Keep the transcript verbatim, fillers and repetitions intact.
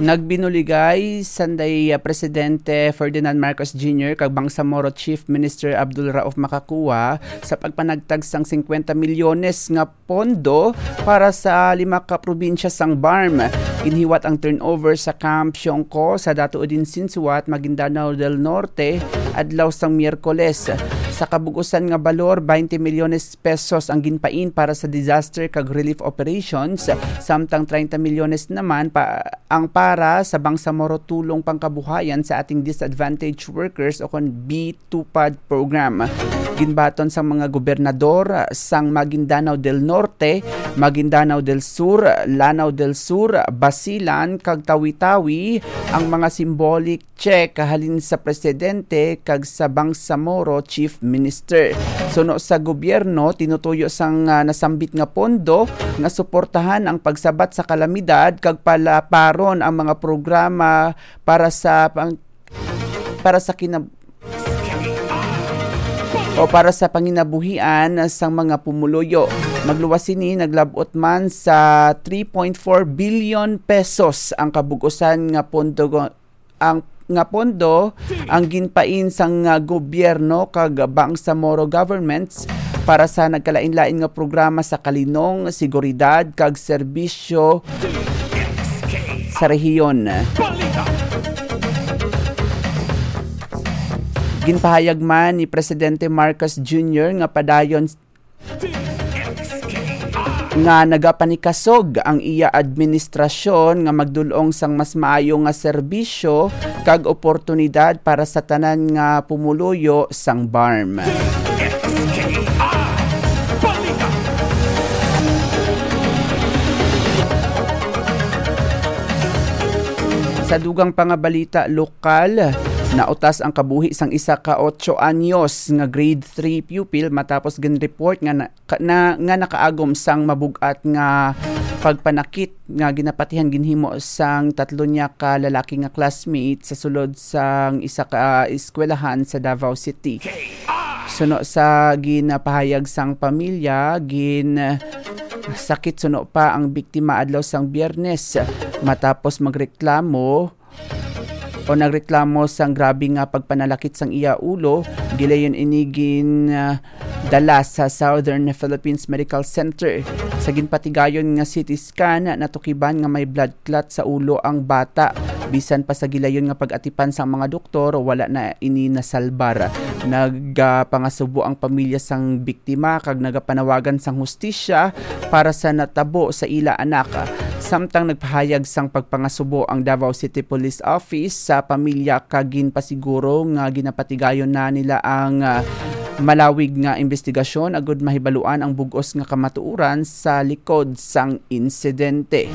Nagbinuligay sanday, ah, Presidente Ferdinand Marcos Junior kag Bangsamoro Chief Minister Abdul Rauf Macacua sa pagpanagtag sang singkwenta milyones nga pondo para sa lima ka probinsya sang BARMM. Ginhiwat ang turnover sa Camp Siongco sa Dato Udin Sinsuat, Maguindanao del Norte, adlaw sang Miyerkules. Sa kabug-usan nga balor, twenty milyones pesos ang ginpain para sa disaster kag relief operations, samtang treinta milyones naman pa ang para sa Bangsamoro Tulong Pangkabuhayan sa Ating Disadvantaged Workers o kon B two pad program. Ginbaton sang mga gobernador sang Maguindanao del Norte, Maguindanao del Sur, Lanao del Sur, Basilan, kag Tawi-Tawi ang mga symbolic check halin sa presidente kag sa Bangsamoro Chief Minister. Suno sa gobyerno, tinutuyo sang, ah, nasambit nga pondo nga suportahan ang pagsabat sa kalamidad kag palaparon ang mga programa para sa pang-, para sa kinab-, o para sa panginabuhian sang mga pumuluyo. Magluwas sini, naglab-ot man sa three point four billion pesos ang kabug-usan nga pondo, ang, nga pondo ang ginpain sang, ah, gobyerno kag Bangsamoro governments para sa nagkalain-lain nga programa sa kalinong, seguridad, kag serbisyo sa rehiyon. Ginpahayag man ni Presidente Marcos Junior nga padayon nga nagapanikasog ang iya administrasyon nga magdul-ong sang mas maayo nga serbisyo kag oportunidad para sa tanan nga pumuluyo sang BARMM. Sa dugang pa nga balita lokal, nautas ang kabuhi sang isa ka otso anyos nga grade three pupil matapos gin-report nga na, ka, na, nga nakaagom sang mabug-at nga pagpanakit nga ginapatihan ginhimo sang tatlo niya ka lalaki nga classmate sa sulod sang isa ka eskwelahan sa Davao City. Suno sa ginapahayag sang pamilya, gin sakit suno pa ang biktima adlaw sang Biyernes matapos magreklamo o nagreklamo sang grabe nga pagpanalakit sang iya ulo. Gilayon ini gin, ah, dala sa Southern Philippines Medical Center. Sa ginpatigayon nga C T scan, natukiban nga may blood clot sa ulo ang bata. Bisan pa sa gilayon nga pag-atipan sang mga doktor, wala na ini nasalbar. Nagapangasubo ang pamilya sang biktima kag nagapanawagan sang hustisya para sa natabo sa ila anak. Samtang nagpahayag sang pagpangasubo ang Davao City Police Office sa pamilya kag ginpasiguro nga ginapatigayon na nila ang, ah, malawig nga imbestigasyon agud mahibaluan ang bug-os nga kamatuoran sa likod sang insidente.